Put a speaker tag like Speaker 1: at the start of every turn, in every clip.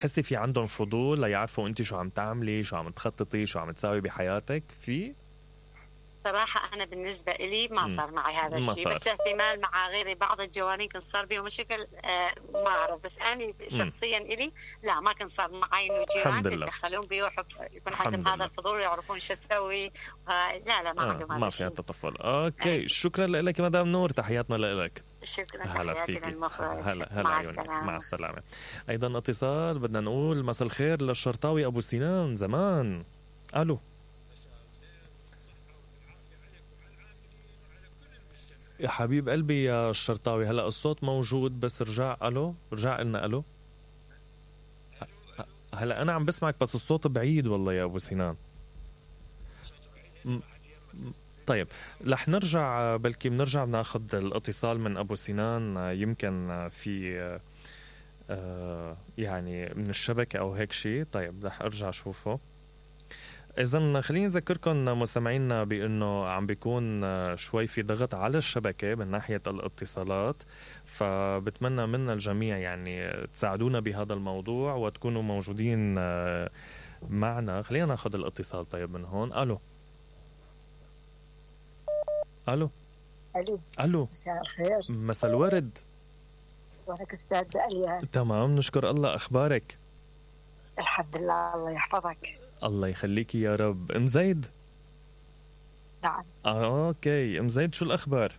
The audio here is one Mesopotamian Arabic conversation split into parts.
Speaker 1: حسي في عندهم فضول ليعرفوا انت شو عم تعملي، شو عم تخططي، شو عم تساوي بحياتك؟ في
Speaker 2: صراحة أنا بالنسبة إلي ما صار معي هذا الشيء، بس احتمال مع غيري بعض الجوانين كان صار بيهم مشاكل، ما أعرف. بس أنا شخصيا إلي لا، ما كان صار معي إنه جيران يتدخلون بي يكون عندهم هذا الفضول ويعرفون شو أسوي. لا ما عندهم هذا
Speaker 1: ما في تطفل. أوكي شكرا لك مدام نور، تحياتنا لك.
Speaker 2: شكرا.
Speaker 1: هلا فيك. هلا
Speaker 2: مع
Speaker 1: عيوني.
Speaker 2: السلامة.
Speaker 1: مع السلامة. أيضا اتصال بدنا نقول مساء الخير للشرطاوي أبو سنان زمان. ألو يا حبيب قلبي يا الشرطاوي، هلا الصوت موجود بس رجع. ألو رجع لنا. ألو هلا أنا عم بسمعك بس الصوت بعيد والله يا أبو سنان. طيب رح نرجع، بلكي بنرجع بناخد الاتصال من أبو سنان، يمكن في يعني من الشبكة أو هيك شيء. طيب رح أرجع شوفه. إذن خليني أذكركم مستمعينا بأنه عم بيكون شوي في ضغط على الشبكة من ناحية الاتصالات، فبتمنى منا الجميع يعني تساعدونا بهذا الموضوع وتكونوا موجودين معنا. خلينا ناخد الاتصال طيب من هون. ألو ألو
Speaker 3: ألو
Speaker 1: ألو
Speaker 3: مساء الخير.
Speaker 1: مساء الورد.
Speaker 3: وأنك أستاذ الياس.
Speaker 1: تمام نشكر الله. أخبارك؟
Speaker 3: الحمد لله الله يحفظك.
Speaker 1: الله يخليكي يا رب. أم زيد؟
Speaker 3: نعم.
Speaker 1: أوكي أم زيد شو الأخبار؟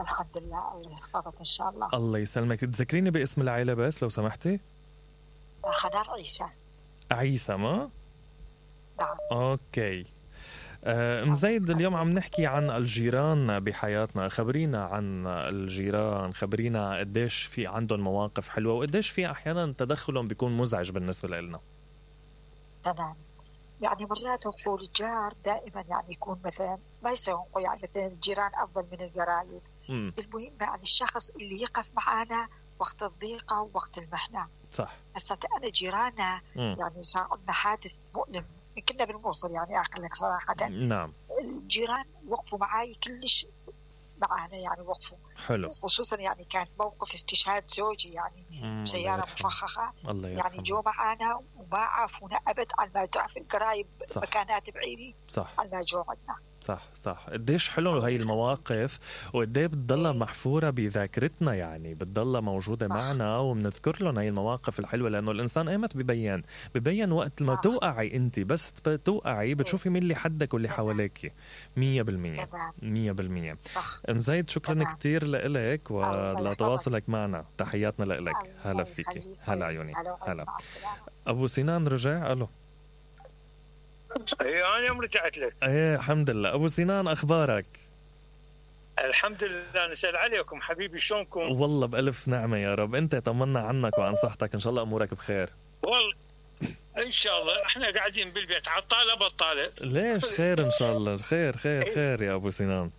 Speaker 3: الحمد لله الله يحفظك إن شاء الله.
Speaker 1: الله يسلمك. تذكريني باسم العائلة بس لو سمحتي.
Speaker 3: خضر عيسى.
Speaker 1: عيسى ما؟
Speaker 3: نعم.
Speaker 1: أوكي. أم زيد اليوم عم نحكي عن الجيران بحياتنا. خبرينا عن الجيران، خبرينا قديش في عندهم مواقف حلوة وقديش في أحيانا تدخلهم بيكون مزعج بالنسبة لنا.
Speaker 3: تمام. يعني مرات نقول الجار دائما يعني يكون مثلا ما يسوق، يعني مثلا الجيران أفضل من القرايب. المهم يعني الشخص اللي يقف معنا وقت الضيقة ووقت المحنة.
Speaker 1: صح.
Speaker 3: هسه أنا جيرانا يعني صار عندنا حادث مؤلم، كنا بالموصل يعني أقول لك صراحة.
Speaker 1: نعم.
Speaker 3: الجيران وقفوا معي كلش معنا، يعني وقفوا.
Speaker 1: حلو.
Speaker 3: خصوصا يعني كان موقف استشهاد زوجي يعني سيارة مفخخة.
Speaker 1: الله
Speaker 3: يعني جو معنا وما عافونا أبد على ما تعرف القرايب مكانات بعيدة.
Speaker 1: صح.
Speaker 3: على ما جو عندنا.
Speaker 1: صح. قديش حلو هاي المواقف وقديه بتضلها محفورة بذاكرتنا، يعني بتضلها موجودة معنا وبنذكر لهم هاي المواقف الحلوة، لأنه الإنسان ايمت ببين وقت ما توقعي انت، بس توقعي بتشوفي مين اللي حدك واللي حواليك. 100%. أم زيد شكرا كتير لإلك ولتواصلك معنا. تحياتنا لإلك. هلا فيكي. هلا عيوني. هلا. أبو سنان رجع. ألو.
Speaker 4: ايه انا رجعت لك.
Speaker 1: ايه الحمد لله. ابو سنان اخبارك؟
Speaker 4: الحمد لله. نسأل عليكم حبيبي، شلونكم؟
Speaker 1: والله بألف نعمة يا رب. انت طمنا عنك وعن صحتك، ان شاء الله امورك بخير.
Speaker 4: والله ان شاء الله احنا قاعدين بالبيت عطالة بطالة.
Speaker 1: ليش؟ خير ان شاء الله. خير يا ابو سنان.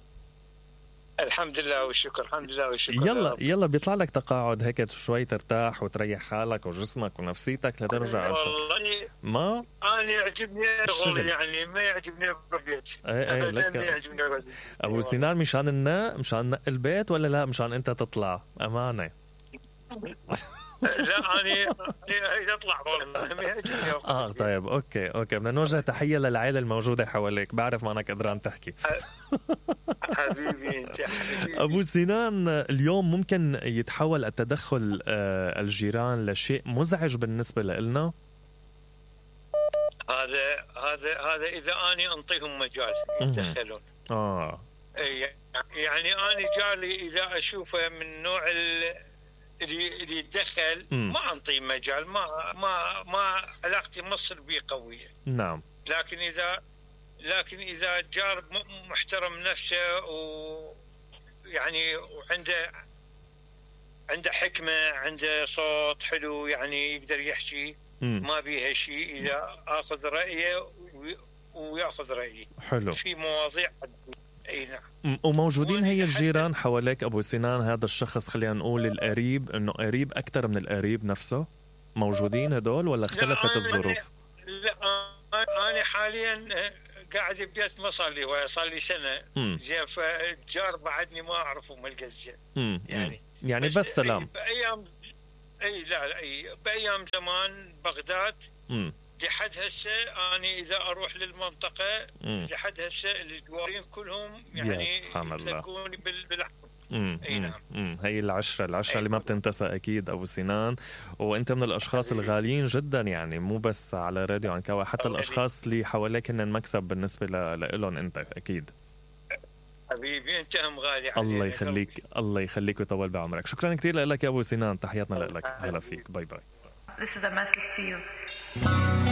Speaker 4: الحمد لله والشكر. الحمد لله والشكر.
Speaker 1: يلا بيطلع لك تقاعد هيك شوي ترتاح وتريح حالك وجسمك ونفسيتك لترجع.
Speaker 4: والله
Speaker 1: ما
Speaker 4: انا يعجبني الشغل، يعني ما يعجبني البيت.
Speaker 1: ايه لك ابو سنان. مشان نق البيت ولا لا مشان انت تطلع امانه؟
Speaker 4: لا انا اطلع والله ما يعجبني.
Speaker 1: طيب اوكي بدنا نوجه تحيه للعائله الموجوده حواليك. بعرف ما انك قدران تحكي.
Speaker 4: حبيبي
Speaker 1: ابو سنان، اليوم ممكن يتحول التدخل الجيران لشيء مزعج بالنسبه لنا؟
Speaker 4: هذا اذا اني انطيهم مجال يتدخلون. يعني انا جاري اذا اشوفه من نوع اللي يتدخل ما انطيه مجال. ما علاقتي مصر بيه قويه.
Speaker 1: نعم.
Speaker 4: لكن اذا جار محترم نفسه ويعني عنده حكمه، عنده صوت حلو، يعني يقدر يحكي ما بيها شيء، اذا اخذ رايه وياخذ رايي.
Speaker 1: حلو.
Speaker 4: في مواضيع. اي نعم.
Speaker 1: وموجودين هي الجيران حواليك ابو سنان؟ هذا الشخص خلينا نقول القريب، انه قريب اكثر من القريب نفسه، موجودين هدول ولا اختلفت الظروف؟
Speaker 4: لا انا حاليا قاعد ببيت ما صار لي سنه. زين. فالجار بعدني ما اعرفه ملقى زين.
Speaker 1: يعني بس سلام.
Speaker 4: اي لا اي بايام زمان بغداد لحد هسه أنا إذا أروح للمنطقة لحد هسه الجوارين كلهم يعني يتلقوني بالحب. اي نعم.
Speaker 1: هي العشرة اللي ما بتنتسى أكيد أبو سنان، وأنت من الأشخاص الغاليين جدا يعني، مو بس على راديو عنكوة، حتى الأشخاص اللي حواليك هن مكسب بالنسبة لهم أنت أكيد.
Speaker 4: حبيبي أنت هم غالي.
Speaker 1: الله يخليك الله يخليك ويطول بعمرك. شكرا كتير لك يا أبو سنان، تحياتنا لك. هلا فيك. باي باي.
Speaker 5: This is a message to you.